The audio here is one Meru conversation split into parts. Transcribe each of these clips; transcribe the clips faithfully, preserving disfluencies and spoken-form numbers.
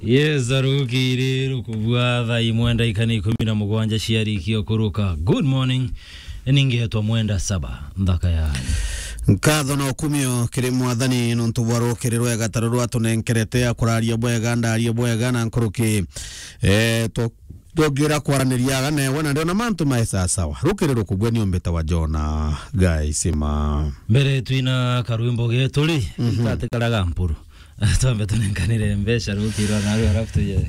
Yes, arukiri rukubua thaa imwe ndaika ni ikumi na mugwanja ciarikia kuruka. Good morning. Ningetwa Mwenda Saba, nthaka ya. Nkatho na ukumio kiri Mwathani nontu bwa rukiri rwega ta ruru atunenkerete, akuraria bwega, ndarie bwega na nkuruki. Eh, twa-, twongira kwaraniria aga newe, na ndiona mantu mae sawa sawa. Rukiri rukubua ni umbita wa Jona Gaisima. Mbere twina karwimbo getu ri, Mhm. Ikatikaraga mpuru. Twambe tunenkanire mbeca rukiri rwa naru, alafu tuje,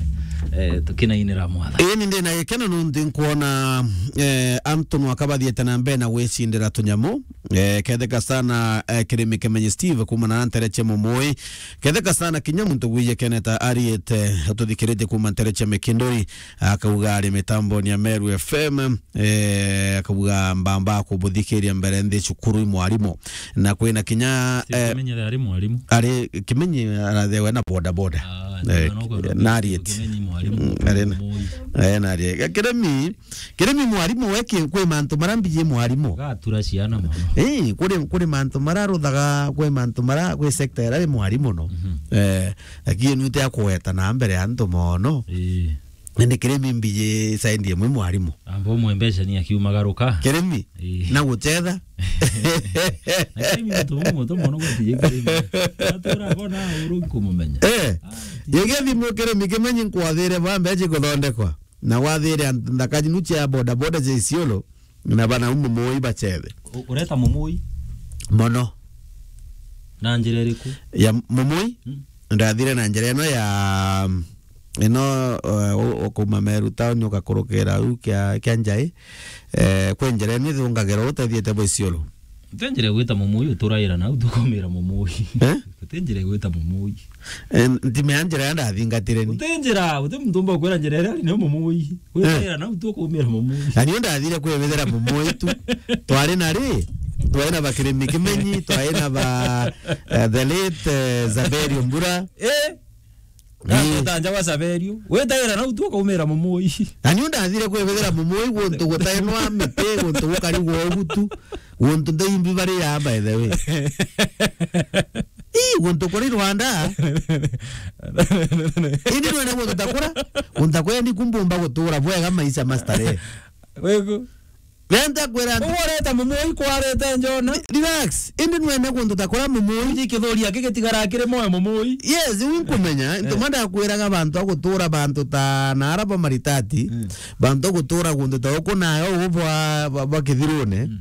eh, tukinainira Mwathani. Ii, ni ndina gikeno nontu nkwona, eh, antu nwaka bathiete na mbere na gwicindira tunyamu. Eh, ketheka sana, eh, Kirimi Kimenyi Steve kuma na ntere cia Mumui. Ketheka sana kinya muntu gwije keneta ariete, ututhikiritie kuma ntere cia Mikinduri, akauga ari mitamboni ya Meru F M. Eh, akauga mbamba kubuthikiria mbere nthi cukuru i mwarimu. Na kwina kinya, Steve eh, Kimenyi ari mwarimu. Ari Kimenyi arathewe na boda boda. Ah, Eh, ndio, ndio, na arieti. Kimenyi mwarimu. Mm, ari na. Moi. Eh, na ari. Kirimi, Kirimi mwarimu we ki-, kwi mantu mara mbiji mwarimu. Gatura ciana mono. Eh, kuri, kuri mantu mara ruthaga, kwi mantu mara, kwi sector ira ri mwarimu no. Mhm. Eh, lakini nute akweta na mbere antu mono. Eh. Indi Kirimi mbiji side imwe mwarimu. Amba umwe mbeca ni akiumagaruka. Kirimi? Ii. Na gucetha? Na Kirimi muntu umwe muntu mono gwatije Kirimi. Atura bona uru nkumumenya. Eh. Ah, ti- Yege thimu Kirimi Kimenyi nkwathire ba mbeca ikuthondekwa. Na wathire nthaka jinu cia boda boda cia Isiolo. Na bana umu Mumui bacethe. U-, ureta Mumui? Mono. Na njira iriku? Ya Mumui? Mm. Ndathire na njira ino ya, ino, eh, u-, ukuma Meru town ugakurukira u kia, kia Njai. Eh, kwi njira ino ithungagira utethiete bwa Isiolo. Uti njira igwita Mumui, uturaira nau tukumira Mumui. Eh? Uti njira igwita Mumui. Eh, ntimea njira ya ndathingatire ni. Uti njira, uti muntu umba kwira njira iria ni Mumui. Eh. Witaira nau tukumira Mumui. Na nio ndathire kwibithira Mumui tu. Twari na ri, twari na ba Kirimi Kimenyi, twari na ba, eh, the late, eh, Zaberi Mbura. Eh? Ni- Ndagweta nja gwa Saverio. Wetaira nau tu ukaumira Mumui. Na niu ndathire kwibithira Mumui guntu gutainwa miti, guntu gukarigwa ugu tu, guntu ndeimbi bari ya, by the way. Ii, guntu kuri Rwanda. Indi nwene guntu takura, guntu takura ni kumbumba gutura bwega maisha mastarehe. Wegu. Renta kwira antu. Ugu ureta Mumui kwarete njona. Relax. Indi nwene guntu takura Mumui. Uji kithuria kigitigaraa kiri moyo Mumui. Yes, winkumenya. Eh. Ntuma ndakwiraga bantu agutura bantu ta na araba maritati. Mm. Bantu agutura guntu ta uku nayo ugu bwa, bwa, bwa kithirune. Mm.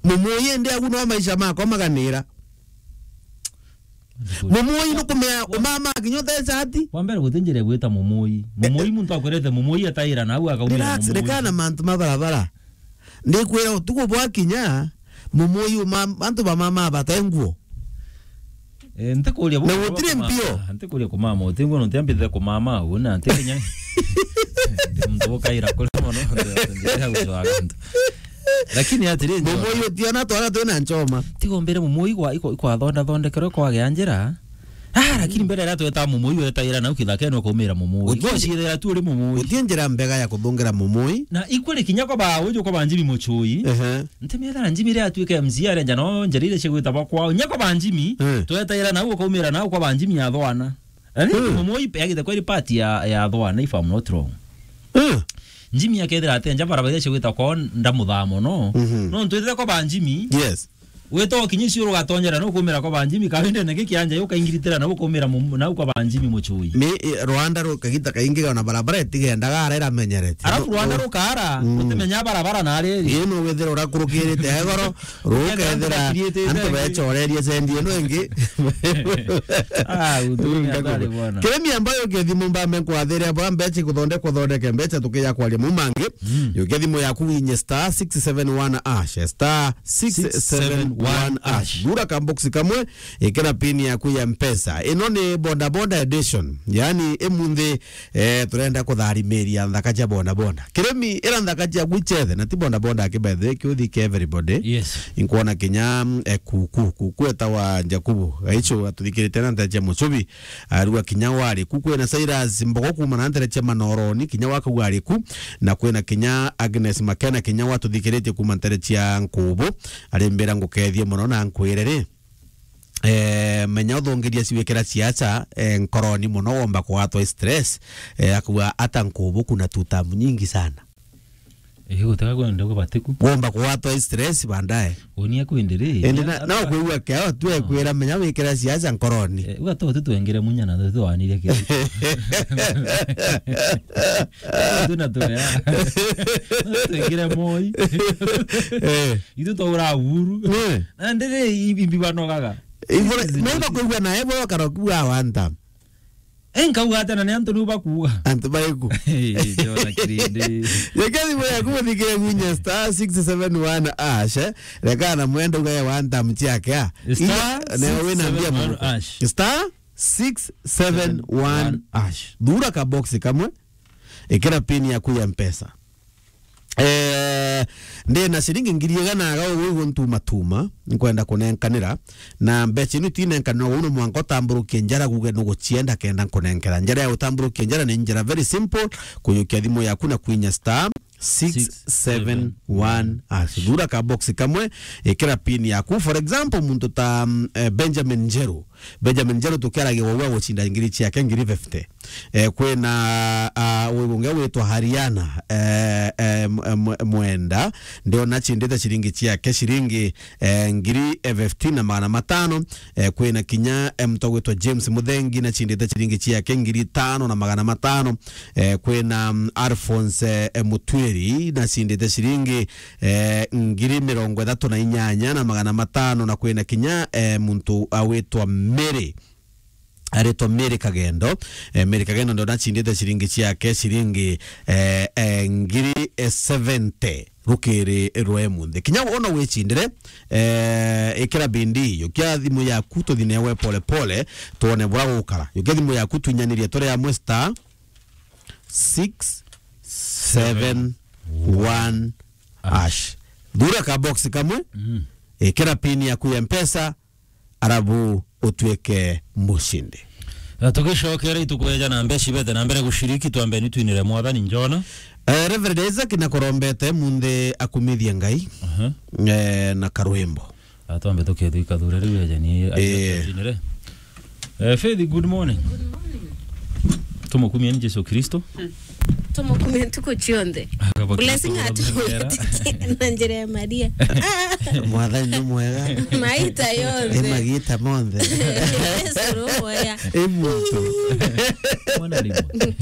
Mumui indi agu no maisha makwa maganira. Mumui nukumea umama kinya utecati. Kwa mbere guti njira igwita Mumui. Mumui muntu akwirete Mumui ataira na au akaumira Mumui. Relax, rekana mantu ma barabara. Ndikwira utuku bwa kinya, Mumui uma, antu ba mama bate nguo. Eh, ntikuria bu-, na gutire mpio. Ntikuria kumama, uti nguo nontu ambithe kumama, una ntikinya. Ndi muntu ukaira kuri mono, ntikinya gucwaga antu. Lakini atiri, Mumui utiona twara twina nchoma. Tigo mbere Mumui kwa, iko, ikwathonda thondekerwe kwagea njira. Ah, lakini mbere era tweta Mumui wetaira nau kithakene ukaumira Mumui. Uti-, gocirira tu uri Mumui. Uti njira mbega ya kuthungira Mumui. Na ikwere kinya kwa ba uju kwa banjimi muchui. Ehe. Ntimethera njimi ria atuike M C A arenja no njira iria cigwita bwa kwao. Nya kwa banjimi, eh, twetaira nau ukaumira nau kwa banjimi ya thwana. Na ni, hmm, Mumui pe agite kweri part ya, ya thwana, if I'm not wrong. Hmm. Njimi akethira atenja barabara iria cigwita kwao ndamuthaa mono. Mhm. No ntwithire kwa banjimi. Yes. Wita ukinyi ciuru ugatonyera no kumira kwa banjimi, kawinde niki kianja yo kaingiritira na ukumira mu-, na kwa banjimi muchui. Ni, eh, Rwanda ru kagita kaingi ona barabara itigendaga ara iramenyerete. Arafu no, Rwanda no, rukara, mm, utimenya barabara na riri. Ii no withira urakurukirite egoro, rukethira antu bechorerie sendi ino ingi. Ah, utu ni hatari bwana. Kirimi ambayo kethimo mbambe nkwathire bwa mbecha kuthondekwa thondeke mbecha tukiya kwaria mu mangi. Mm. Yukia thimu yaku winye star six seven one hash, star six seven one hash. Gura ka box kamwe, ikira pin yaku ya Mpesa. Ino ni boda boda edition. Yani, imunthi, eh, turenda kutharimeria nthaka cia boda boda. Kirimi ira nthaka cia gwichethe, na ti boda boda aki by the way, kiuthi ki everybody. Yes. Inkwona kinya, mm, eh, kuku, kuku etawa Jakubu. Gaicho atuthikirite na nthaka cia mucubi. Arua kinya wari ku, kwina Cyrus Mbogo kuma na ntere cia Manoroni, kinya wakauga ari ku, na kwina kinya Agnes Makena, kinya watuthikiritie kuma ntere cia Nkubu, arimbira ngukethie mono na nkwire ri, Eh, menya uthongeria ciwikira ciaca, eh, nkoroni muno, womba kugwatwa stress, eh, akauga ata nkubuku na two term nyingi sana. Eh, gutega kwenda kubatiku. Womba kugwatwa stress baadaye. Unia kwendere. Ende na, na kwigua keo tu ekwira menya wikira ciaca nkoroni. Eh, uga tu twengere munya na tu wanire kio. Tu na tu ya. Twengere moi. Eh. Itu twaura buru. Eh. Na ndiri ibi banogaga. Ibura, nenda kwigua na ebo karokuwa wanta. Eh, nkauga ata na ni antu niu bakuuga. Antu baiku. Eh, Jona Kirindi. Yeke thimu yaku muthikire gunya star six seven one hash, eh. Reka na mwenda ugaye one time ciake, ah. Star Ina, na we na mbia six seven one hash. Star six seven one hash. Thura ka box kamwe, ikira pin yaku ya Mpesa. Eh, ndi na ciringi ngiri igana aga ugu iguntuma tuma, nkwenda kunenkanira. Na mbeca inu itinenkanirwa uu, no mwanka utamburukie njara, guge nugucienda kenda nkunenkera. Njara ya utamburukia njara ni njara very simple, kuyukia thimu yaku na kwinya star six seven one hash. Thura ka box kamwe, ikira pin yaku. For example, muntu ta, mm, eh, Benjamin Njeru. Benjamin Njeru tukiaragia wau agucinda ngiri ciake ngiri fifty. Eh, kwina, ah, uyu ungi witwa Hariana, eh, eh, m-, m-, Mwenda, ndiona acindite ciringi ciake ciringi, eh, ngiri, eh, fifteen na magana matano. Eh, kwina kinya, eh, muntu witwa James Muthengi nacindite ciringi ciake ngiri tano na magana matano. Eh, kwina, mm, Alphonse, eh, Mutwiri nacindite ciringi, eh, ngiri mirongo ithatu na inyanya na magana matano, na kwina kinya, eh, muntu awitwa Mary, aritwa Mary Kagendo. Eh, Mary Kagendo ndona acindite ciringi ciake ciringi, eh, eh, ngiri, eh, seventy rukiri rwa emunthi. Kinya wona wicindire, eh, ikira bindi, yukia thimu yaku tuthi newe pole pole, twone bura gukara. Yukia thimu yaku twinyanirie turi amwe star six seven one hash. Thura ka box kamwe, mm, ikira pin yaku ya Mpesa, arabu utuike mushindi. Na tugicokera itukweja na mbeca ibete na mbere gushiriki, twambe ni twinire Mwathani Njona. Eh, Reverend Isaac na kurombete munthi akumithie Ngai, aha, eh, na karwimbo. Atwambe tukethika thure riu eja ni, eh, aja twinire. Eh, Faith, good morning. Good morning. Tumukumie ni Jesu Kristo. Tumukumie ntuku cionthe. Akaba blessing Kristo atu na njira ya Maria. Mwathani ni mwega. Maita yonthe. Ni magita monthe. Yesu ni mwega. E muntu. Mwana ni mwe.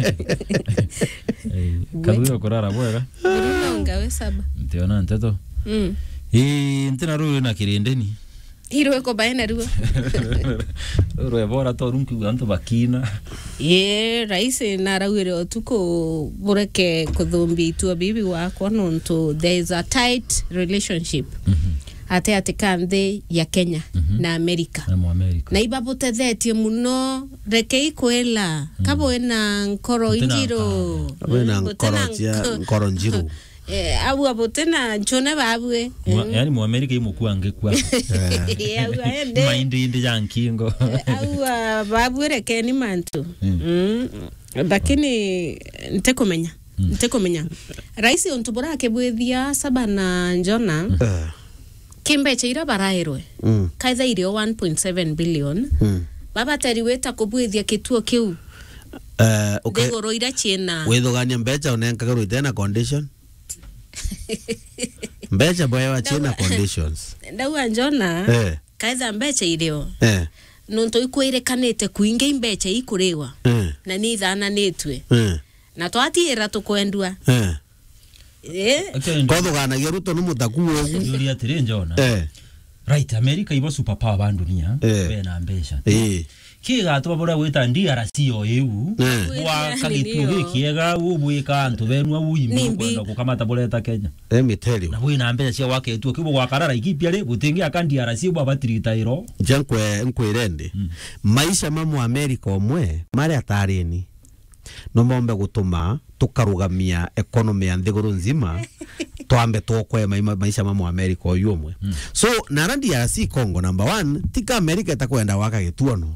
Eh, we. Kathuri kurara bwega. Bruno ngawe saba. Ntiona nteto. Mm. Ii, ntina ruru na kirindeni. Irwe ko bae na ruo. Rwe bora to runku antu bakina. Ye, rais narauire utuku bureke kuthumbia itua bibi wakwa nontu there is a tight relationship, mhm, ati ati ka nthi ya Kenya, mhm, na Amerika. Na mu Amerika. Na ibabutethetie muno, rekei kwela, mhm, kabwe na nkoro injiro. Kabwe na nkoro cia, nkoro njiru. Eh, au abote na nchone babwe. Mwa-, eh, yani Mwamerika imukua ngekua. Eh, au aende. Maindi indi ya nkingo. Eh, au, ah, babwe rekeni mantu. Mm. Mm. Lakini ntikumenya. Mm. Ntikumenya. Rais untu burakibwithia saba na Njona. Mm. Eh. Kimbecha ira barairwe. Mm. Kaitha irio one point seven billion. Mm. Babateri wita kubwithia kituo kiu. Eh, okay. Ndiguru ira ciina. Withugania mbecha unenkagirwo itena condition. Mbecha bwewa ciina conditions. Ndauga Njona, eh, kaitha mbecha irio. Eh. Nontu ikwirikanite kuingi mbecha ikuriwa. Eh. Na ni ithananitue. Eh. Na twatiira tukwendua. Eh. Eh. Okay. Kothuganagia Ruto ni mutaku ugu. Yuri atiri Njona. Eh. Right, America ibo superpower ba dunia, eh, bena mbecha. Eh. Kigatuma buria gwita D R C o iu, eh, gwaka gituo gikiega, ubwika antu benu au imbi kwenda gukamata bureta Kenya. Let me tell you. Na bwina mbeca cia gwaka gituo kiu, bugwakara Laikipia ri, butingiaka D R C bwabatirita iro. Ja nkwe-, nkwire ndi, mm, maisha ma Muamerika umwe mari atarini. No mombe gutuma tukarugamia economy ya nthiguru nzima, twambe tuokoe mai-, ma-, maisha ma Muamerika uyu umwe. Mm. So, nara D R C Congo, number one, tika America itakwenda gwaka gituono.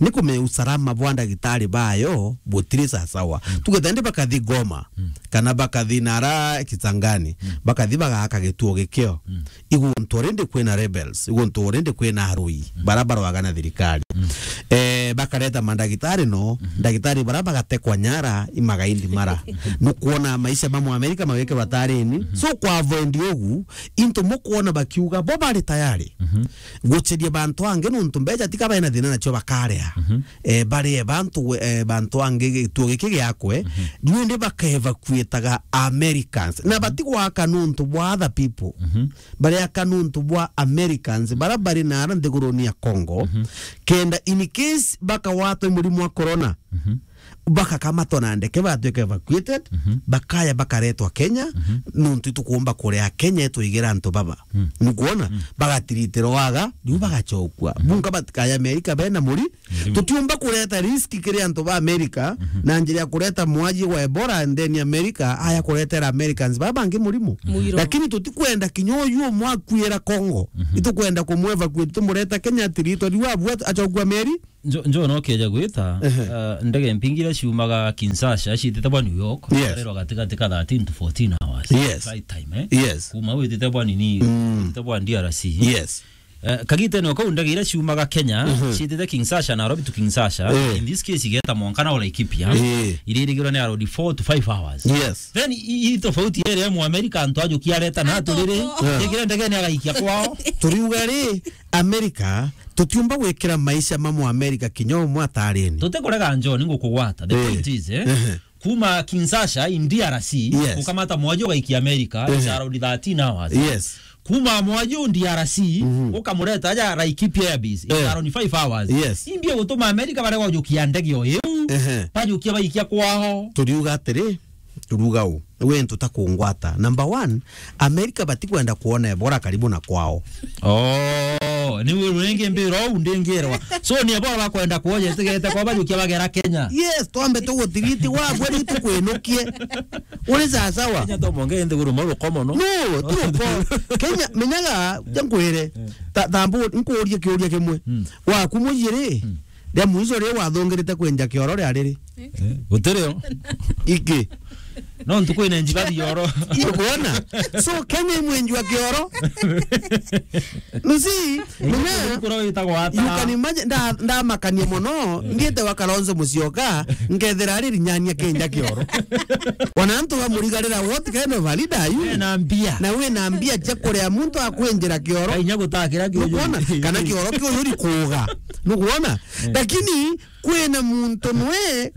Ni kumenya usalama bwa ndagitari bayo butiri sasawa. Mm. Tuge tende bakathi Goma, mm, kana bakathi nara Kisangani, mm, bakathi bagaaka gituo gikio. Mm. Iguntu already kwina rebels, iguntu already kwina arui, mm, bara barwaga na thirikari. Mm. Eh, bakareta mandagitari no, mm, ndagitari bara bagatekwa nyara, imagaindi mara. Nukwona maisha ma Mwamerika mawikirwa tarini. Mm. So, kwa avoid ugu, into mukwona bakiuga, bo bari tayari, mhm, guceria bantu angi, nuntu mbeca tika baina thina nacio bakaria. Mhm. Eh, barie bantu, eh, bantu angi gituo giki giakwe, mhm, riu indi bakaevacuataga Americans. Na batigwaka nuntu bwa other people. Mhm. Bareaka nuntu bwa Americans, bara bari nara nthiguruni ya Congo, mhm, kenda in case bakawatwa i murimo wa corona, mhm, bakakamatwa na ndeke, batwika evacuated, mhm, bakaya bakaretwa Kenya, mhm, nuntu itukumba kuria Kenya itwigira antu baba. Mm. Nukwona? Mm. Bagatiritirwa aga, riu bagacokua. Mm. Bunka batikaya Amerika bena muri. Murimo. Tutiumba kureta risk kiri antu ba Amerika, mhm, na njira ya kureta mwaji wa Ebola, and then America aya kuretera Americans baba bangi murimo. Muiro. Lakini tutikwenda kinya uyu umwe akuira Congo. Mhm. Itukwenda kumwevacuate, tumureta Kenya, atiritwa riu abua acokua meri. Njo, njo no keja gwita, ehe, uh, ndege mpingi iria ciumaga Kinshasa, ciitite bwa New York, yes, karerwa gatigati ka thirteen to fourteen hours. Yes. Flight time, eh? Yes. Kuma witite bwa nini, mm, witite bwa D R C. Yes. Eh, kagitene o kau ndege iria ciumaga Kenya, mhm, ciitite Kinshasa, Nairobi to Kinshasa, eh, in this case, igeta mwanka na Laikipia, eh, iririgirwa ni around four to five hours. Yes. Then i, i tofauti ere mu America, antu ajukia areta na aturi ri, atoko, yeah, ikira ndege ni agaikia kwao. Turiuga ri, America, tutiumba gwikira maisha ma Muamerika kinya umwe atarini. Tutikurega John, ngukugwata. The, eh, point is, eh, ehe, kuma Kinshasa in D R C, yes, ukamata mwaji ugaikia America, it's, ehe, around thirteen hours. Yes. Kuma mwaji u D R C, mhm, ukamureta aja Laikipia Air Base, it's, eh, around five hours. Yes. Imbie gutuma America baria gwajukia ndege o iu, ehe, bajukia baikia kwao. Turiuga atiri, turuga u, we ntu ta kungwata. Number one, America batikwenda kuona Ebola karibu na kwao. Oh, ni we rurenge mbiro u ndingirwa. So ni Ebola bakwenda kuoja itigete kwa bajukia bagera Kenya. Yes, twambe tugutiriti wa gwe riu tukwinukie. Uri sawa sawa. Kenya to monge nthiguru ma rukomo no. No, tuko. Kenya, menyaga, jankwire. Eh. Ta-, tambu, nkuurie kiuria kimwe. Mm. Waku mujiri, mm, ria mwico ri wathungirite kwinja kioro ria riri? Eh, gutiri o. Iki. No ntuku ine njiga thioro. Ukuona? So, Kenya imwenjwa kioro. You see, menya, kura witagwa ata? You can imagine, nda-, ndamakania mono, ndiete wa Kalonzo Musyoka, nkethira ari rinyania kenja kioro. Ona antu bamurigarira, what kind of a leader are you? Ena mbia. Na wina mbia cia kuria muntu akwenjira kioro. Kainya gutakira kioro. Nukwona? Kana kioro kiu yuri kuga. Nukwona? Eh. Lakini kwina muntu nwe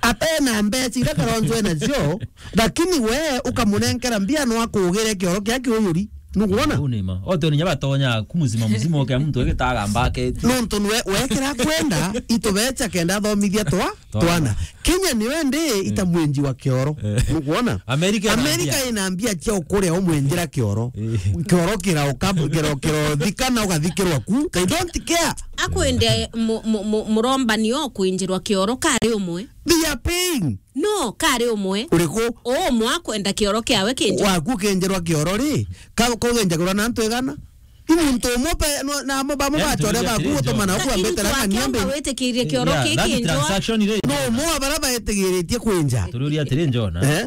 atena mbeca iria Kalonzo enacio, lakini we ukamunenkera mbia no akugire kioro kia kiuyuri. Nukwona? Uu ni ma. Ote ni nyaba tonya ku muzima muzima uke muntu egitaga mbake. Nontu nwe wekira kwenda itubecha kenda athomithia twa, twana. Twana. Kenya niwe ndi, eh, ita mwenji wa kioro. Eh. Nukwona? America ina mbia. America ina mbia cia ukuria umwenjira kioro. Eh. Kioro kirauka, kiro, kirothikana ugathikirwa ku. They don't care. Akwende mu-, mu-, mu-, murombani o kwinjirwa kioro kari umwe. They are paying. No, kari umwe. Uriku? O umwe akwenda kioro kiawe kinjirwa. Waku kinjirwa kioro ri, ka-, kugenjagirwa na antu igana? I muntu umwe pe, no, na amo bamwe bachore baku gutumana ukwambite rang'ania mbe. Witikirie kioro kikinjwa. Yeah, that transaction ri. No umwe wa bara betigiritie kwinja. Turiuria atiri, Njona. Eh?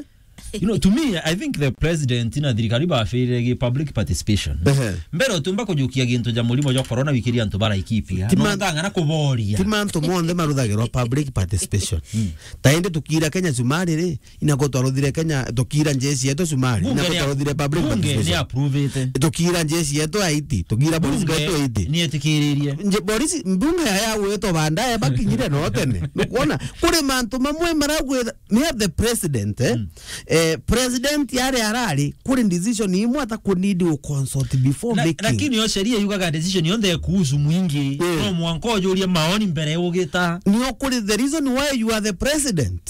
You know, to me, I think the president na thirikari bafirire gi public participation. Ehe. Mbere utiumba kujukia gintu ja murimo jwa corona wikiria antu baraikipia. Ti man-, no ngang'ana kuboria. Ti mantu monthe maruthagirwa public participation. Mm. Ta indi tukira Kenya cumari ri, inako twaruthire Kenya, tukira njeci yetu cumari, bunge inako ni a-, twaruthire public bunge participation. Ni approve-ite. Tukira njeci yetu Haiti, tukira polisi yetu Haiti. Bunge ni etikiririe. Nje polisi, mbunge ya, ya gwitwa bandaye bakinyire no tene. Nukwona, kuri mantu mamwe maragwitha, me the president, eh? Mm. Eh, president yari arari, kuri decision imwe ata ku need u consult before making. Lakini yo sheria yugaga decision yonthe ikuhusu mwingi. Mm. No mwanka ujurie maoni mbere ugita. Nio kuri the reason why you are the president.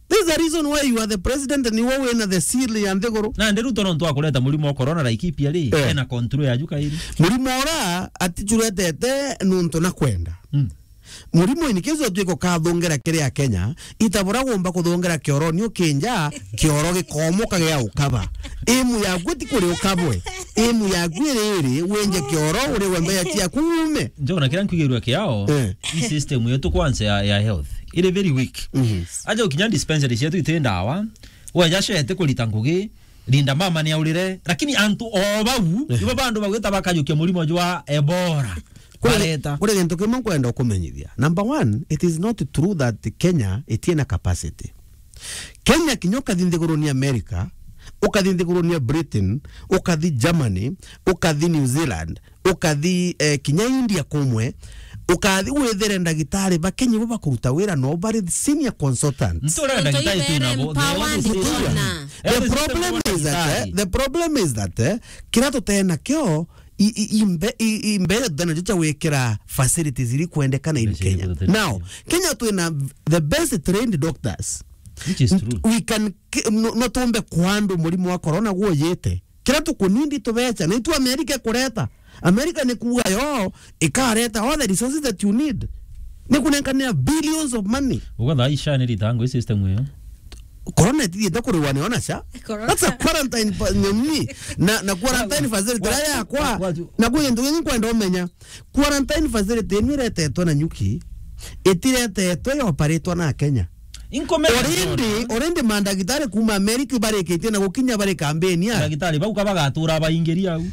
This is the reason why you are the president, ni we wina the seal ya nthiguru. Na ndi Ruto nontu akureta murimo wa corona Laikipia ri, eh, ena control ya juka iri. Murimo ura atichuretete nuntu na kwenda. Mm. Murimo in case utwika ukathongera kiri a Kenya, itabura gomba kuthongera kioroni ukinja, kioro gikomoka gia ukaba. Imu yaku ti kuri ukabwe. Imu yaku iri iri, winje kioro, uri wembe ya ciaku ume. Njona kira nkwigirwa kiao, Eh. i system yetu kwanza ya, ya health. Iri very weak. Mhm. Aja ukinya dispensary cietu iti ndawa, weja cete kurita ngugi, Linda mama ni aurire, lakini antu o bau, Eh. ibo bandu bagwita bakajukia murimo jwa Ebola. Kuri, Bareta. kuri gintu kimwe nkwenda ukumenyithia. Number one, it is not true that Kenya itiena capacity. Kenya kinya ukathi nthiguruni America, ukathi nthiguruni Britain, ukathi Germany, ukathi New Zealand, ukathi, eh, kinya India kumwe, ukathi withire ndagitari ba Kenya bo bakuruta wira no bari senior consultants. Ntura Nontu ndagitari ibe twina bo, empowered they always say bona. The Every problem system is that, eh, ndagitari. the problem is that, eh, kira tutena kio, i, i, imbe, i, i, mbere tutena jo cha wikira facilities iri kwendekana in Facilities Kenya. tutena Now, cio. Kenya twina the best trained doctors. Which is true. We can ki-, no, no tumbe kwa andu murimo wa corona gwojete. Kira tukunindi tubecha, na itu America ikureta. America ni kuuga yo ikareta all the resources that you need. Ni kunenkanira billions of money. Uga thaa ici ni ritangu i system iyo. Corona itithiete kuriwa ni ona cha. Corona. That's a quarantine pa-, nyoni. Na, na quarantine facility Wa-, ya kwa. wa-, Na kwi gintu kingi nkwenda umenya. Quarantine facility ino iretetwe na nyuki, itiretetwe yoparitwa na Kenya. Inkomere Already, John. already mandagitari kuma America ibarikitie na gukinya bari kambeni ya. Ndagitari bau kabagatura baingiri au.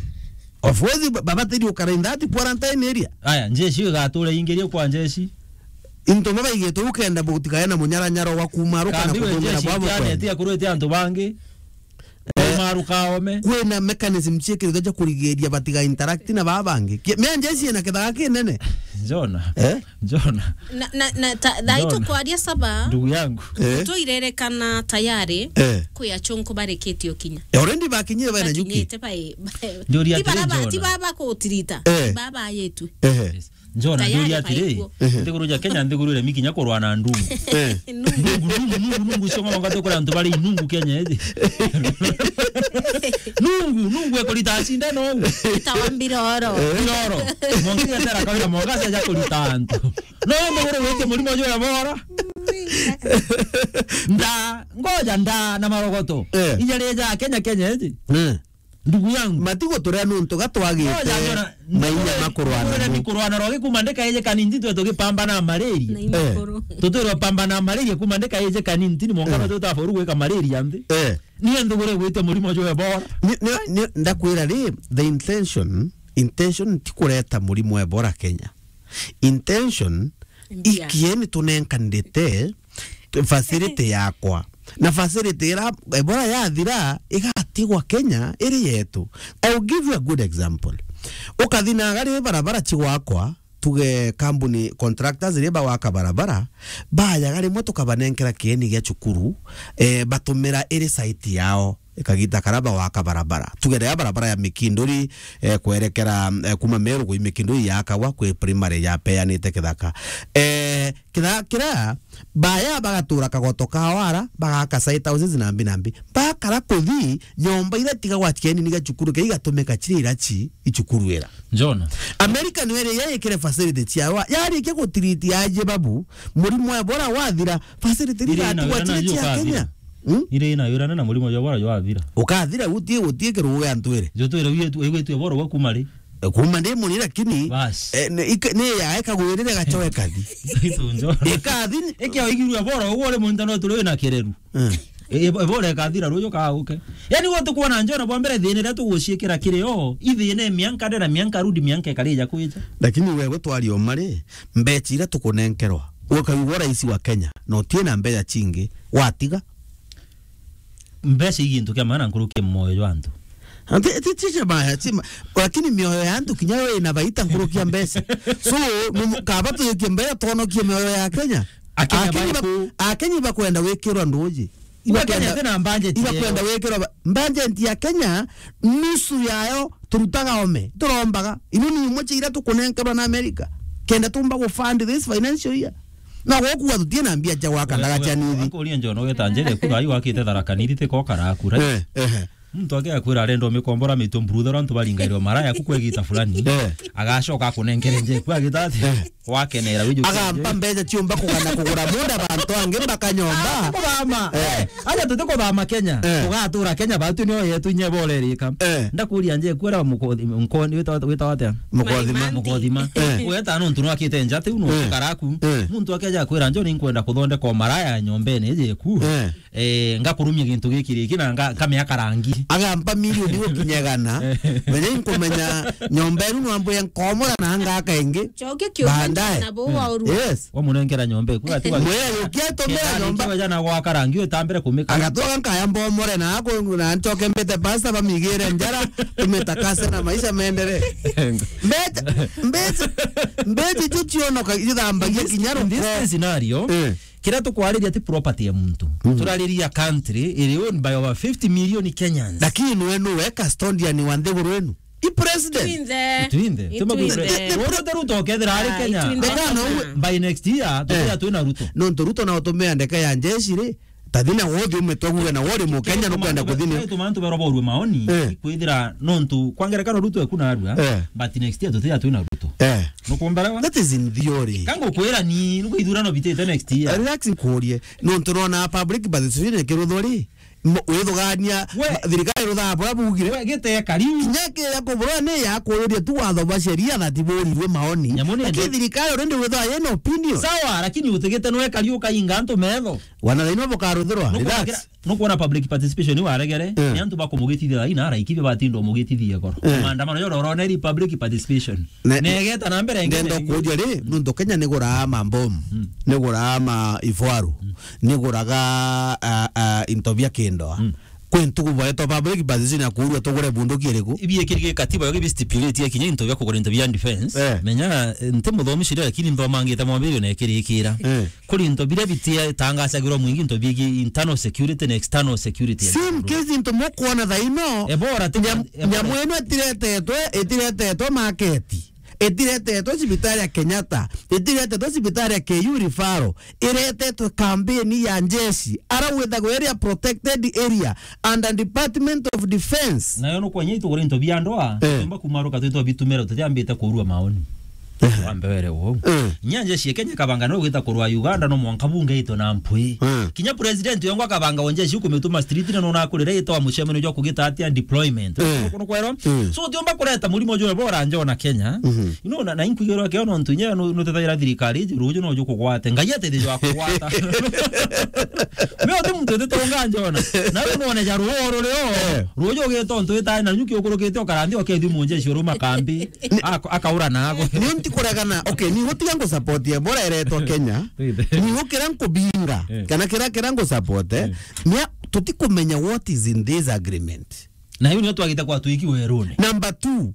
Of course, ba-, babatiri ukara in that quarantine area. Aya, njeshi igatura ingiri kwa njeshi. Into babaigite ukenda butikae na munyaranyaro wa kuma ruka na Kambi we kuthongera njeshi bwa bukwenda. Itianete akurwete antu bangi. Eh, Maruka ome. Kwina mechanism ciikirite cia kurigiria batiga interact na baa bangi. Ki-, mea njeshi ina kithaga kinene. Jona. Eh? Jona. Na, na, na, ta, thaa Jona. Itu kwaria saba. Ndugu yangu. Eh? Tuirerekana tayari Eh. Kwi achunku barikitie ukinya. Eh, already bakinyire bana nyuki. Bakinyite bai-, Njuria ti atiri, bara ba-, Jona. Ti baba kutirita. Eh. Baba yetu. Eh. Yes. Njona Tayari njuria atiri, baigwo. Ehe. Nthiguru ja Kenya, nthiguru iria mikinya kurwa na ndungu. Eh. Nungu, nungu, nungu, nungu, cio ng'oma ngatu kuri antu bari nungu Kenya iji. Nungu, nungu ekurita cindano uu. Itawa mbiroro. Mbiroro. Mwangi etera kawira mwangaza ja kurita antu. No nthiguru wite murimo jwa bora. Nda, ngoja nda na marogoto. Eh. Ija rija Kenya, Kenya iji. Eh. Ndugu yangu. Matigo turia nuntu ga twagite Oja, njona, mainya makurwana ndugu, mo. Kurwana rogi kuma ndika ije kanini twe tugipambana na malaria. Na Eh. imakuru. Tutwirwa pambana na malaria kuma ndika ije kanini tini mwongano Eh. tuta foru gwika malaria nthi. Eh. Ni antu gure gwite murimo jwa Ebola. Ni, ni, ni, ndakwira ri, the intention, intention ti kureta murimo wa Ebola Kenya. Intention, Mbia. Ikieni tunenkanirite facility yakwa. Na facility ira Ebola yathira, igatigwa Kenya iri yetu. I'll give you a good example. Ukathi na gari barabara cigwakwa, tuge kambuni contractors iria bagwaka barabara, bayaga rimwe tukabanenkera kieni gia cukuru, eh, batumira iri site yao. Kagita karia bagwaka barabara. Tuge riria barabara ya Mikinduri, eh, kwerekera, eh, kuma Meru gwi Mikinduri yakagwa, kwi primary yapeanite kithaka. Eh, kithaka kiria, baya bagatura kagoto kao ara, bagaka site houses na mbi na mbi. Bakara kuthi, nyomba iria itigagwa cieni niga cukuru, kei igatumika ciri ira ci, icukuru ira. Njona. America niyo iri yaikire facility ciao. Yarikia gutiriti aje babu, murimo wa Ebola wathira, facility Iri ina igatigwa wira ciri nayo cia ukathira. Kenya. Hmm? Iri ina wira na murimo jwa bora jwa thira. Ukathira guti, guti kirugu gia ntwire. Jo twire wi tu, wi tu bora gwa kuma ri. E, kuma ndi muni lakini, Bas. eh, ni, ika-, ni ya eka gwirire gachoe kathi. Itu njo. Ikathi ni Eke oigirwe bora uguo ri muntu no turi na kireru. Eh. E, e, bora ikathira rujo ka uke. Yani wote kuona njona bwa mbere thina ria tuguciikira kiri o, ithina mianka ndera mianka rudi mianka ikarija kwija. Lakini wewe twari o mari, mbecha iria tukunenkerwa. Ukaigua rais wa Kenya, na utie na mbeca cingi, watiga. Mbeca i gintu kia maana nkuruki moyo jwa antu. Ati, ati, ti cia maana, ti ma-, lakini mioyo ya antu kinya yo ina baita nkuruki ya mbeca. So, mu-, kaba tujukie mbeca twonokie mioyo ya Kenya. Akenya Akenya ba-, baiku. Akenya bakwenda gwikirwa nduji. Iba Kenya Ibakenda, tina budget ibakwenda yao. Gwikirwa ba-, budget ya Kenya, nusu yayo turutaga ome, turombaga. Ino ni imwe cia iria tukunenkerwa na America. Kenda tumba gu fund this financial year. Na gukua tutie na mbia cia gwaka ndaga cia nithi. Akuria njona ugeta njere kura ai wakite Tharaka Nithi tiko karakura. Eh, eh. Muntu ake akwira arenda umikombora mitwe mburuthera antu baringairwe maraya ku kwegita fulani. Eh. Agacoka akunenkere njeku agita ati, eh, wakenera wiju. Agampa mbeca ciumba kugana kugura munda bantu angi mbaka nyomba. Ah, tukuthama. Eh. Aja tutikuthama Kenya. Eh. Tugatura Kenya batu nio yetu inye borerika. Eh. Ndakuria njeku era mukothi, nkoni wita, wita watia? Mukothima. Mukothima. Eh. Weta nontu nwakite njati uno, eh, karaku. Eh. Muntu akeja kwira njo ni nkwenda kuthondeka maraya nyombene yeku. Eh. Eh, ngakurumia gintu giki riki na nga-, nkamea karangi. Agampa milioni gukinya igana. Menya inkumenya nyomba enu nwambwire nkomora na ngaka ingi. Cokia kiumba baadaye. Na bo wa urua. Yes. Wamunenkera nyomba iku, ati wa- Mwea yukia tumira nyomba. Kiwa jana gwa karangi utambire kumika. Agatwaga nkaya mbomore na ako na ncoke mbite pasta bamigire njara, tumitakase na maisha meendelee. Mbeca, mbeca, mbeca icio cionoka, ithambagia kinya ruko. In this, in this scenario, eh. Kiria tukwariria ti property ya muntu. Mm. Turariria country iri owned by over fifty million Kenyans. Lakini nwe nuwe custodian wa nthiguru inu? I president. Itwinthe. Itwinthe. Itwinthe. Ruto, Ruto ukethira ari Kenya. Itwinthe. By next year, eh, tuthia twina Ruto. Nontu Ruto na utumia ndeka ya njeshi ri, tathina wothi umetwaguga na wori Mukenya nukwenda kuthini. Tumantu beroborwe maoni, eh, ikwithira nontu kwa ngerekano Ruto eku narua, eh, but next year tuthia twina Ruto. Eh. Nukumbarawa? That is in theory. Kango kwira ni nuko ithurano bitite next year. Relax nkurie. Nontu nona public participation ikiruthwo ri, mo-, withugania, we, ma-, thirikari ruthaa bura bugire. We, gite kariu. Kinya kiria kuburwa ni ya kururia tu watho bwa sheria that burirwe maoni. Nyamu ni lakini ende- thirikari already withwa yena opinion. Sawa, lakini utigite nwe kariu ukainga antu metho. Wana thaino bukaruthirwa. Relax. Nukwona public participation ni waregere, eh, ni antu bakumugitithia thaina araikithia batinda umugitithia goro. Eh. Maandamano yo rorone ri public participation. Ne-, negeta na mbere ndenda kuuria ri, nuntu Kenya niguraa mambomu, mm, niguraa ma ifaru, mm, niguraga, a, a, into bia kindoa. Mm. Kwi ntuku baetwa public participation ya kuurua tugure bunduki iriku? Ibiekirige katiba yo gibi stipulate ya kinya into bia kugura into bia defense. Eh. Menya, eh, nti muthomi sheria lakini nthomangite mwambiririo na ikirikira. Eh. Kuri into biria bititangasagirwa mwingi into bigi internal security na external security. Same case into mukwona thaino. Ebora ti nyam-, ebora. Nyamu ino itiretetwe, itiretetwe market. Itiretetwe cibitari ya Kenyatta, itiretetwe cibitari ya K U referral, iretetwe campaign ya njeshi, ara withagwo area protected area under Department of Defense. Nayo nukwenya itugure into bia ndoa, eh, tumba kumaruka twitwa bitumira tutiambite kurua maoni. Eh. Wambe were uu. Eh. Nya njeshi ya Kenya kabanga no gwita kurua Uganda no mwanka bunge ito na mpwi. Eh. Kinya president yongwa kabanga wa njeshi ukumituma street na nona kurira ito wa mucemanio jwa kugita atia deployment. Eh. Kuno kwero. Eh. So utiumba kureta murimo jwe bora njona Kenya. Mhm. Ino na, na inkwigirwa kio nontu inya no, no tethaira thirikari, ruju no jukugwate. Ngai atethejwa kugwata. Me uti muntu utitonga njona. Na we none ja ruo ruri o. Eh. Ruju ugitontu ita na nyuki ukurukite ukaranthi ukethi munje ciuru makambi. Ako-, akaura nago. Ni nti kuregana. Okay, ni gutiga ngu support ya bora eretwa Kenya. Ni gukira nkubinga. Eh. Kana kira, kira ngu support, eh. Eh. Nia tutikumenya what is in this agreement. Na hiyo nio twagite kwa twiki werune. Number two,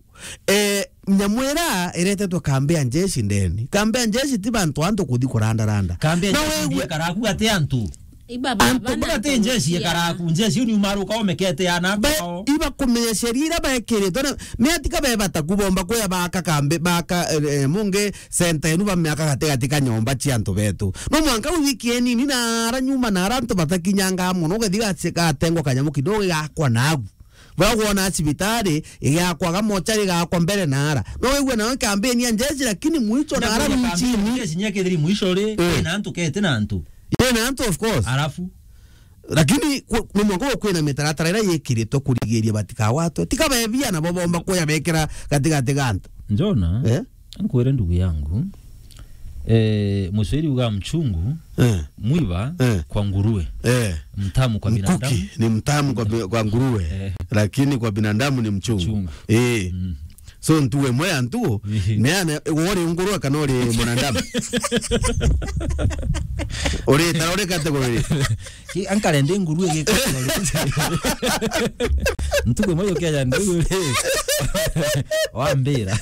eh, nyamwira iretetwe kambi ya njeshi ndeni. Kambi ya njeshi ti bantu antu kuthi kurandaranda. Kambi ya njeshi ndiye karaku ati antu. Iba antu baba na bati njeshi ya karaku, njeshi ni umaruka omekete ana ba-, kwao. Iba kumenya sheria ira baekiritwe na, me atika bebata kubomba kuya baka kambi, baka, eh, eh, mungi center enu ba miaka gati gati ka nyomba cia antu betu. No mwanka uthiki enini na ara nyuma na ara antu batakinyanga mono, ugethi gaci-, gatengwa kanyamu kidogo gigakwa nagu. Bura gwona cibitari igakwa, gamochari igakwa mbere na ara. No wigua nawe campaign ya njeshi, lakini mwicho na ara mwichini. Njeshi nyekethiri mwisho ri, eh, na antu kete na antu. Ye na antu, of course. Alafu? Lakini ku-, ni mwanka kwina mitaratara ira yikiritwe kurigiria batikawatwe. Tika bebia nabo bomba kuya bekira gatigati ga antu. Njona? Eh? Nkwire ndugu yangu, eh, Muswahili uga mchungu, eh, mwiba, eh, kwa nguruwe, eh, mtamu kwa binadamu. Mkuki ni mtamu kwa bi-, kwa nguruwe, eh, lakini kwa binadamu ni mchungu. Mchungu. Eh. Mm. So ntugu imwe ya ntugu, ehe, neane, wori nguruwe kana uri mwanadamu? Uri tara uri category? Ki-, ankare ndi nguruwe gika. Ntugu imwe yukeja ndi nguruwe. Wambira.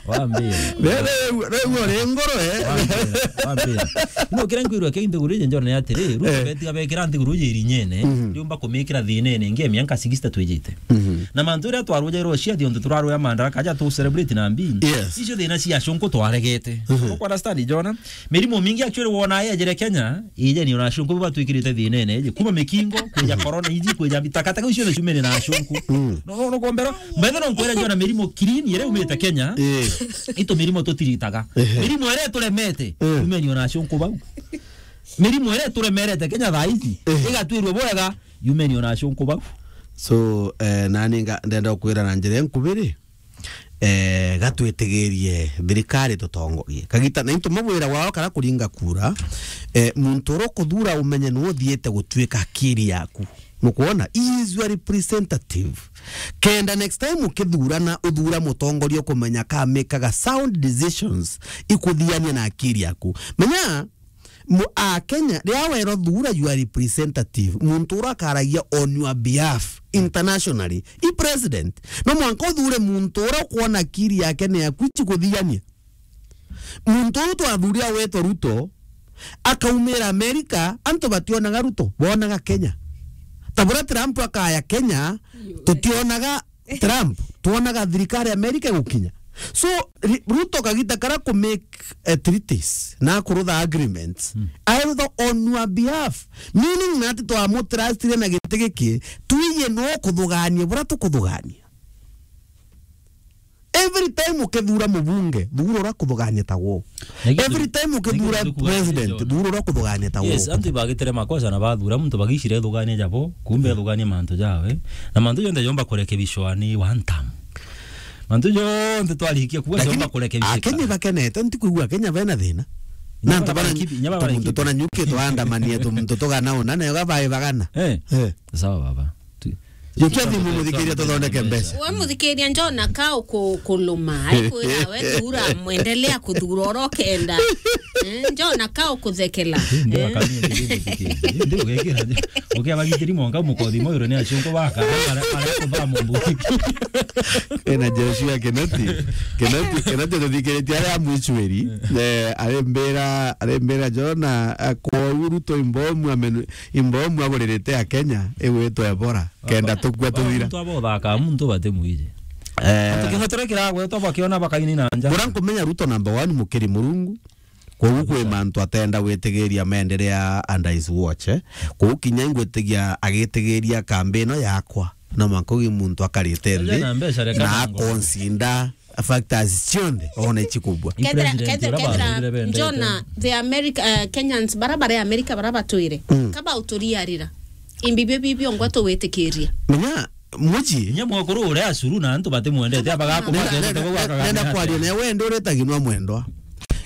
Wambira. Rĩu, rĩu ũrĩ ngoro, eh? Wambira, wambira. No, kĩrĩa nkwĩrwo kĩu nthiguru iji njone atĩrĩ, Ruto Eh. betiga bekĩra nthiguru iji irinyene, Mhm. ndiumba kũmĩkĩra thĩnene, ingi ya mĩanka sixty twĩjĩte. Mhm. Na mantu ĩrĩa twarũjairwo cia thionthe tũrarũya Madaraka aja tũ celebrate na mbi. Yes. Icio thĩna cia acũnkũ twaregete. Mhm. Ũkũ understand, Jona? Mĩrimũ mingi actually wona yejere Kenya, ijeni ona acũnkũ batwĩkĩrĩte thĩnene, iji. Kuma mĩkingo, kwĩja corona iji, kwĩja mbi, takataka icio nĩ ciumene na acũnkũ. Mm. No, no, no, kombero, mbethe no nkwĩre Jona mĩrimũ clean, ĩrĩa umĩte Kenya, Eh. itu mĩrimũ tũtiritaga. Ehe. Mĩrimũ ĩrĩa ĩtũremete, Eh. umeni ona acũnkũ bau. Mĩrimũ ĩrĩa ĩtũremerete Kenya thaa ici, Eh. ĩgatwĩrwo bwega, umeni ona acũnkũ bau. So, eh, nani nga-, ndenda kwĩra na njĩra nkubiri, eh, gatwĩtĩgĩrie thirikari tũtongorie. Kagita, na into mabwĩra wao kana kũringa kura, eh, muntu ũrĩa ũkũthura ũmenye nĩ ũthiĩte gũtuĩka akiri yaku. Nukwona? He is your representative. Kenda next time ũkĩthurana, ũthura mũtongoria ũkũmenya ka make-aga sound decisions ikuthiania na akiri yaku. Menya, Mu-, a Kenya, rĩrĩa werwo thura your representative, muntu ũrĩa akaragia on your behalf internationally, i president. No mwanka ũthure muntu ũrĩa ũkwona akiri yake nĩ yaku ici kũthigania. Muntu ũyũ twathurire wetwa Ruto, akaumĩra America, antu bationaga Ruto, bonaga Kenya. Ta bũrĩa Trump akaya Kenya, tutionaga Trump, twonaga thirikari ya America igukinya. So, ri-, Ruto kagita kara ku make, eh, treaties na kurutha agreements, Mm. airutha on your behalf. Meaning na ati twamutrustire na giti giki, twije no kuthugania bura tukuthugania. Every time ukithura mubunge, thura ura kuthugania ta wo. Every time ukithura president, thura ura kuthugania ta wo. Yes, antu ibagitire makosa na bathura muntu bagicire ithugania jabo, kumbe ithugania mantu jawe. Na mantu jonthe jomba kurekebishwa ni one term. Mantu jonthe twarikia kuga jomba kurekebishwa. Lakini Akenya bakenete, ntikwigua Akenya bena thina. Na ntabara muntu tona nyuki twandamania tu muntu tugana ona nayo gabae bagana. Eh. Eh. Sawa baba. Jukia thimu muthikiria tuthondeke mbeca. We muthikiria njona ka uku-, kuluma, aikwira we thura, mwendelea kuthura oro kenda. Eh, njona ka ukuthekela. Ndi Eh. Akamia ndi muthikiria. Ndi ugekira. Ukia bagitiri monga mukothi moiro ni acungu baka. Ara, ara kuba mumbu. Ena Joshua Kinoti. Kinoti, Kinoti tuthikiritie aria mwichweri. Eh, arembera, arembera Jona, eh, kwa uru to imbomu amenu, imbomu aguririte Akenya, igwitwa Ebola. Kenda tukua tuthira. Muntu aba uthaka, muntu bate mwiji. Eh. Antu kihotore kiragwetwa bakiona bakaini na nja. Bura nkumenya Ruto number one mukiri Murungu. Koguo kwi mantu atenda gwitigiria maendelea under his watch, eh. Koguo kinya ingwitigia agitigiria kambi ino yakwa. No mwanka ugi muntu akarite nthi na akonsinda factors cionthe one ichikubwa. Kethira, kethira, kethira, Jona, the America, eh, Kenyans, bara bare America, bara batwire. Mm. Kaba uturiarira. Imbi bio bibio ngwa tuwitikirie. Menya, muji. Nye mwakuru uria acuru na antu batimwendete, abaga kumwendete, nenda, nenda kwaria nawe, wende urita ginwa mwendwa.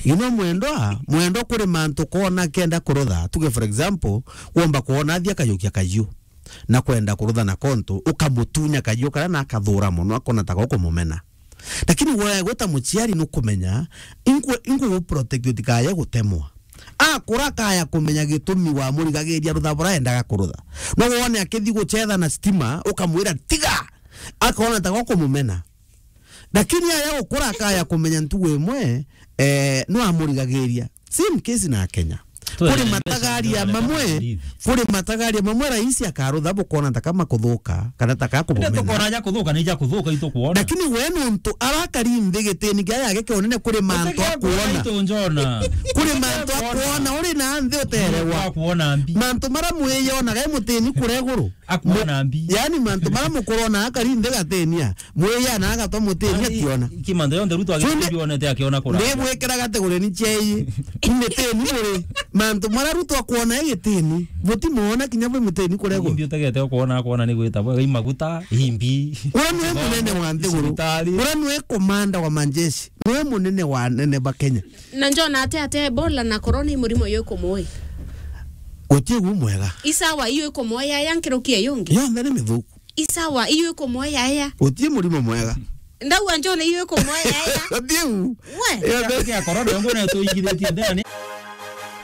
Ginwa mwendwa, mwendwa kuri mantu kona kenda kurutha. Tuge, for example, womba kuona athia kayukia kayu. Na kwenda kurutha na kontu, ukamutunya kayu karia na akathura mono, akona ta gukumumena. Lakini we gwita muciari nukumenya, inkwe, inkugu protect utikaye gutemwa. Akura akaya kumenya gitumi wa murigagiria rutha bura endaga kurutha. No wone akithi guchetha na stima, ukamwira, "Tiga!" Akona ta gukumumena. Lakini aya gukura akaya kumenya ntugu imwe, eh, no amurigagiria. Same case na Kenya. Kuri matagaria mamwe, kuri matagaria mamwe rais akarutha bukona ta kama kuthuka, kana ta ka kubumena. Tukona ja kuthuka, ni ja kuthuka itukuona. Lakini we nuntu arakari nthi gitini gia yake kionene kuri mantu akuona. Kuri mantu akuona, uri na nthi uterewa. Akuona mbi. Mantu mara mwiyonaga e mutini kureguru. Akuona mbi. Yani mantu mara mukurona akari nthi gatenia. Mwiya na agatwa mutini akiona. Kimantha yonthe Ruto agionete akiona kura. Ndibwikira kategori ni chei. Imitini muri. Mantu mara Ruto akuona e gitini. Butimwona kinya bwi mutini kuregwa. Imbi utegete kuona, akuona ni gwita bwe, i maguta, imbi. Ura nwe munene wa nthiguru. Ura nwe komanda wa majeshi. Nwe munene wa nene ba Kenya. Na njona ate, ate Ebola na corona i murimo yo ikumui. Guti gu mwega. Isawa iyo ikumui ya, ya nkiruki iyo ingi. Yonthe ni mithuku. Isawa, iyo ikumwoya aya. Guti murimo mwega. Ndauga njone iyo ikumwoya aya. Guti u. We. Iyo ndio kia corona, yo ngona tuigithitie ndani.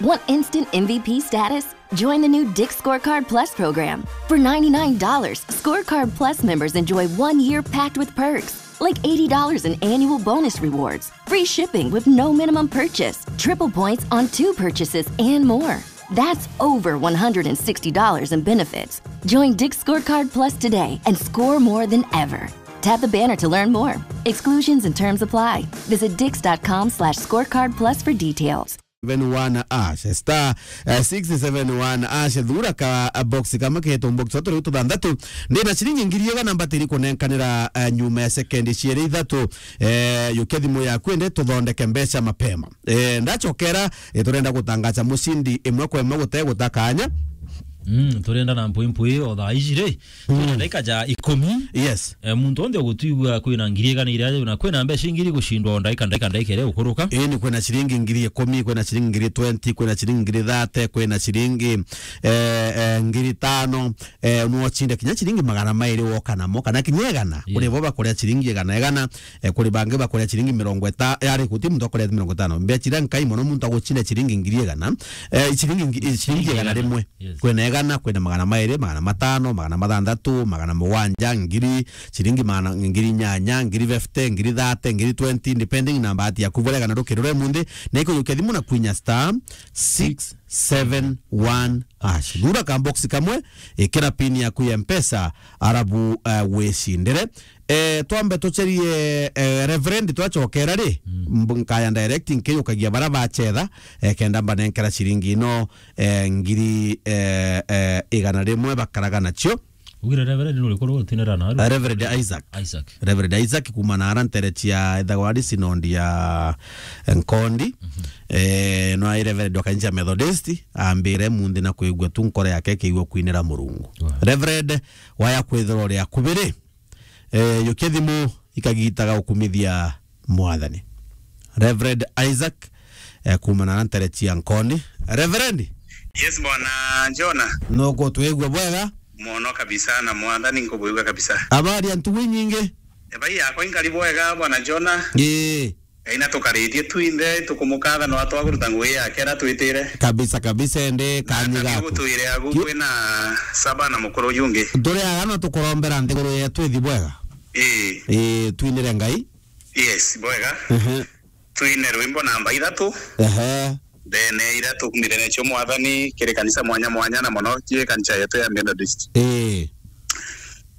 Want instant M V P status? Join the new Dick's Scorecard Plus program. For ninety-nine dollars, Scorecard Plus members enjoy one year packed with perks, like eighty dollars in annual bonus rewards, free shipping with no minimum purchase, triple points on two purchases, and more. That's over one hundred sixty dollars in benefits. Join Dick's Scorecard Plus today and score more than ever. Tap the banner to learn more. Exclusions and terms apply. Visit dicks.com slash scorecard plus for details. Seven one hash, star, eh, six seven one hash, thura ka, eh, box kamwe ketu, box turi tuthanthatu. Ndina ciringi ngiri igana mbatiri kunenkanira, eh, nyuma ya sekendi ciere ithatu. Eh, yukia thimu yaku ende tuthondeke mbeca mapema. Eh, ndachokera, eh, turenda gutangaza mucindi imwe kwa imwe gute gutakanya. Mm, turenda na mpwi mpwi o thaa ici ri. Twina ndagika ja ikumi. Yes. Eh, muntu onthe ugutwigua kwina ngiri igana iria, na kwina mbeca ingiri gucindwa o ndagika, ndagika, ndagika iria ukuruka. Ii, ni kwina ciringi ngiri ikumi, kwina ciringi ngiri twenty, kwina ciringi ngiri thirty, kwina ciringi, eh, eh, ngiri tano, eh, no ucinde kinya ciringi magana mairi woka namo, kana kinya igana. Yes. Kuri bo bakuria ciringi igana, igana, eh, kuri bangi bakuria ciringi mirongo itano, yari guti muntu akuria mirongo itano. Mbeca iria nkai mono muntu agucinde ciringi ngiri igana, eh, ciringi ngi-, ciringi igana rimwe. Yes. Kwina igana, kwina magana mairi, magana matano, magana mathanthatu, magana mugwanja, ngiri, ciringi magana, ngiri inyanya, ngiri fifty, ngiri thirty, ngiri twenty, depending na bahati yaku. Bwega na rukiri rwa munthi, na ikujukia thimu na kwinya star six seven one hash. Thura ka box kamwe, ikira pin yaku ya Mpesa, arabu, eh, wicindire. Eh, twambe tucerie, eh, Reverend, twacokera ri, mm, mb-, nkaya direct nkiyukagia bara bacetha, eh, kenda mbanenkera ciringi ino, eh, ngiri, eh, eh, igana rimwe bakaraga nacio. Ugire Reverend nuriku ru twinera na aru? Eh, Reverend Isaac. Isaac. Reverend Isaac kuma na ara ntere cia ethagwa ari sinodi ya Nkondi. Mhm. Eh, no ai Reverend wa kanisa Methodist, ambire munthi na kwigua tu nkoro yake kiigua kwinira Murungu. Wow. Reverend, waya kwithirwa uri akubiri. Eh, yukia thimu ikagitaga ukumithia Mwathani. Reverend Isaac, eh, kuma na ntere cia Nkoni. Reverend? Yes, bwana Jona. Nuku twigua bwega? Mono kabisa, na Mwathani nkubwigua kabisa. Habari ya ntugu inyingi? Ebai yakwa inkari bwega, bwana Jona. Ii. Ngai na tukaritie twinthe, tukumukatha no atwaguruta ngugi yake ara twitire. Kabisa, kabisa, ende kanyi gaku. Gutwire agu kwina saba na mukuru jungi. Turi aga no tukurombera nthiguru yetu ithi bwega. Ii. Ii, twinire Ngai. Yes, bwega. Ehe. Twine rwimbo namba ithatu. Ehe. Ndene ira tukumithania cio Mwathani kiri kanisa mwanya mwanya na mono ki kanisa yetu ya Methodist. Ii.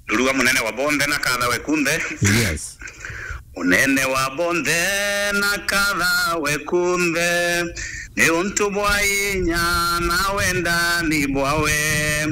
Rurua munene wa bonthe na kathawe kunthe. Yes. Munene wa bonthe na kathawe kunthe, ni untu bwa inya na wendani bwawe.